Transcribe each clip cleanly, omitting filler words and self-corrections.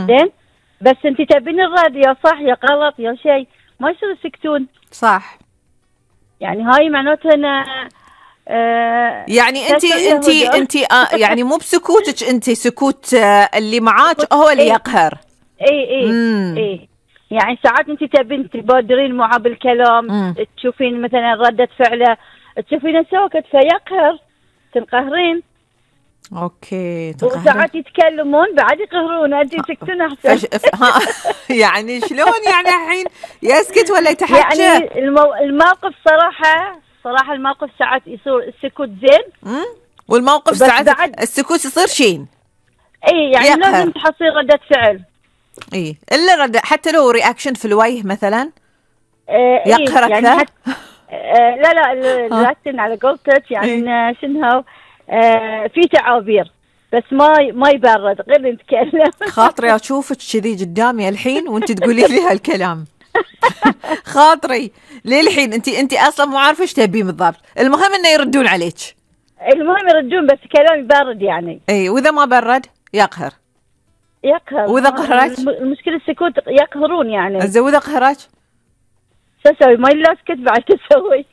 زين، بس انت تبين الرد يا صح يا غلط يا شيء، ما يصير يسكتون. صح. يعني هاي معناتها أنا يعني انت يعني مو بسكوتك، انت سكوت اللي معاك هو اللي يقهر. اي يعني ساعات انت تبين تبادرين معه بالكلام، تشوفين مثلا ردة فعله، تشوفين سوكت فيقهر، تنقهرين. اوكي. وساعات يتكلمون بعد يقهرون، انت تسكتون احسن. يعني شلون يعني الحين يسكت ولا يتحكى؟ يعني الموقف صراحة الموقف ساعات يصير السكوت زين، والموقف ساعات السكوت يصير شين. اي يعني يقهر. لازم تحصين ردة فعل. اي الا حتى لو رياكشن في الوجه مثلا يقهر اكثر. يعني لا رياكشن على قولتك يعني شنو في تعابير بس ما يبرد غير نتكلم. خاطري اشوفك كذي قدامي الحين وانت تقولي لي هالكلام. خاطري للحين انت اصلا مو عارفه ايش تبين بالضبط، المهم انه يردون عليك. المهم يردون بس كلام يبرد يعني. اي واذا ما برد يقهر. واذا قهرك المشكله السكوت يقهرون يعني. واذا قهرك شو اسوي؟ ما لا اسكت بعد تسوي.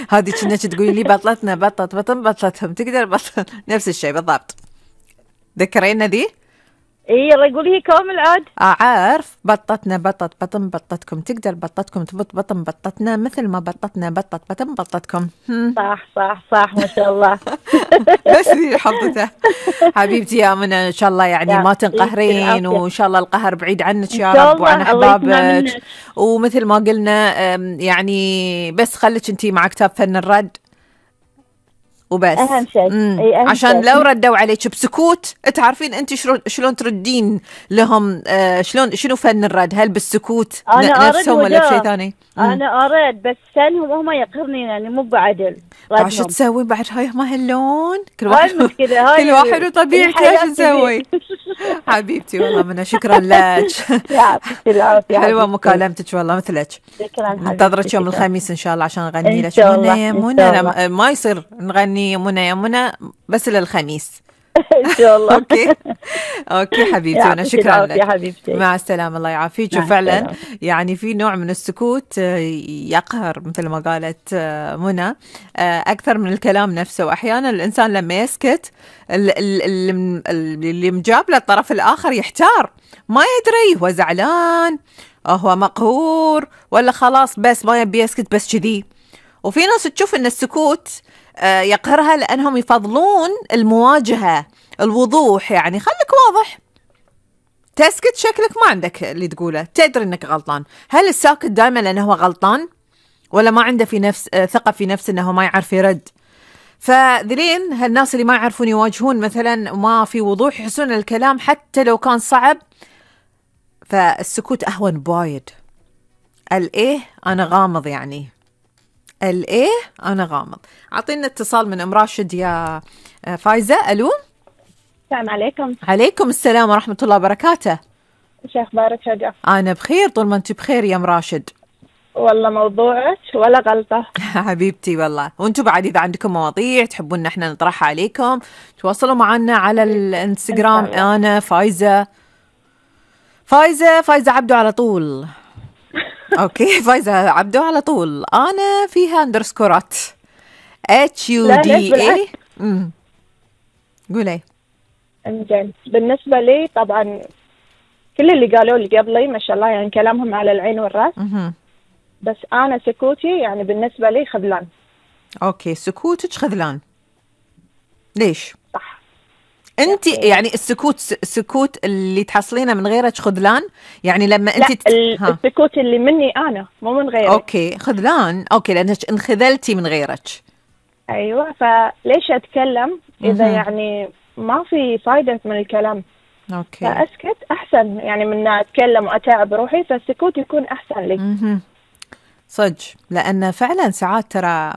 هذه كنا تقولي لي بطلتنا بطلتهم تقدر بطل نفس الشيء بالضبط. ذكرينا ذي؟ اي يلا قولي هي كامل عاد. عارف بطتنا بطن بطتكم تقدر بطتكم تبط بطن بطتنا مثل ما بطتنا بطن بطتكم. صح ما شاء الله. بس ذي حظته. حبيبتي يا منى ان شاء الله يعني ما تنقهرين، وان شاء الله القهر بعيد عنك يا رب وعن احبابك. ومثل ما قلنا يعني بس خليك انتي مع كتاب فن الرد وبس. اهم شيء عشان لو ردوا عليك بسكوت تعرفين انت شلون تردين لهم. شنو فن الرد؟ هل بالسكوت نفسهم ولا بشيء ثاني؟ انا اريد بس فنهم هم يقهرني يعني مو بعدل. شو تسوي بعد هاي ما هاللون؟ كل واحد وطبيعته ايش نسوي. حبيبتي والله منى شكرا لك. حلوه مكالمتك والله مثلك. ننتظرك يوم الخميس ان شاء الله عشان نغني لك منى يا منى. ما يصير نغني منى يا منى بس للخميس ان شاء الله. اوكي حبيبتي انا شكرا لك. حبيبتي مع السلامه الله يعافيك. وفعلا يعني في نوع من السكوت يقهر مثل ما قالت منى اكثر من الكلام نفسه. واحيانا الانسان لما يسكت اللي مجاب له الطرف الاخر يحتار، ما يدري هو زعلان هو مقهور ولا خلاص بس ما يبي يسكت بس كذي. وفي ناس تشوف ان السكوت يقهرها لأنهم يفضلون المواجهة الوضوح، يعني خليك واضح تسكت شكلك ما عندك اللي تقوله، تدري انك غلطان. هل الساكت دائما لأنه هو غلطان ولا ما عنده في نفس ثقة في نفسه انه ما يعرف يرد؟ فذلين هالناس اللي ما يعرفون يواجهون مثلا وما في وضوح يحسون الكلام حتى لو كان صعب، فالسكوت أهون بوايد. الايه انا غامض يعني الايه انا غامض. اعطينا اتصال من ام راشد يا فايزه. الو السلام عليكم. عليكم السلام ورحمه الله وبركاته. ايش اخبارك شجع؟ انا بخير طول ما انت بخير يا ام راشد. والله موضوعك ولا غلطه. حبيبتي والله. وانتم بعد اذا عندكم مواضيع تحبون ان احنا نطرحها عليكم تواصلوا معنا على الانستغرام. انا فايزه عبدو على طول. اوكي فايزة عبدو على طول. انا فيها اندرسكورات HUDA. قولي. انزين بالنسبة لي طبعا كل اللي قالوا لي قبلي ما شاء الله يعني كلامهم على العين والراس. بس انا سكوتي يعني بالنسبة لي خذلان. اوكي سكوتك خذلان ليش؟ صح. انت يعني السكوت اللي تحصلينه من غيرك خذلان يعني لما انت السكوت اللي مني انا مو من غيرك. اوكي خذلان. اوكي لانك انخذلتي من غيرك. ايوه فليش اتكلم اذا يعني ما في فايدة من الكلام. اوكي فاسكت احسن يعني من اتكلم واتعب روحي، فالسكوت يكون احسن لي. صدق لان فعلا ساعات ترى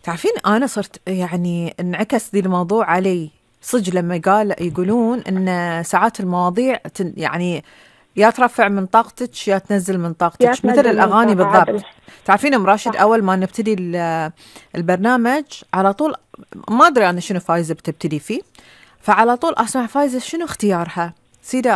تعرفين انا صرت يعني انعكس ذي الموضوع علي صدق لما يقولون ان ساعات المواضيع يعني يا ترفع من طاقتك يا تنزل من طاقتك مثل الاغاني بالضبط. تعرفين ام راشد اول ما نبتدي البرنامج على طول ما ادري انا شنو فايزه بتبتدي فيه، فعلى طول اسمع فايزه شنو اختيارها سيده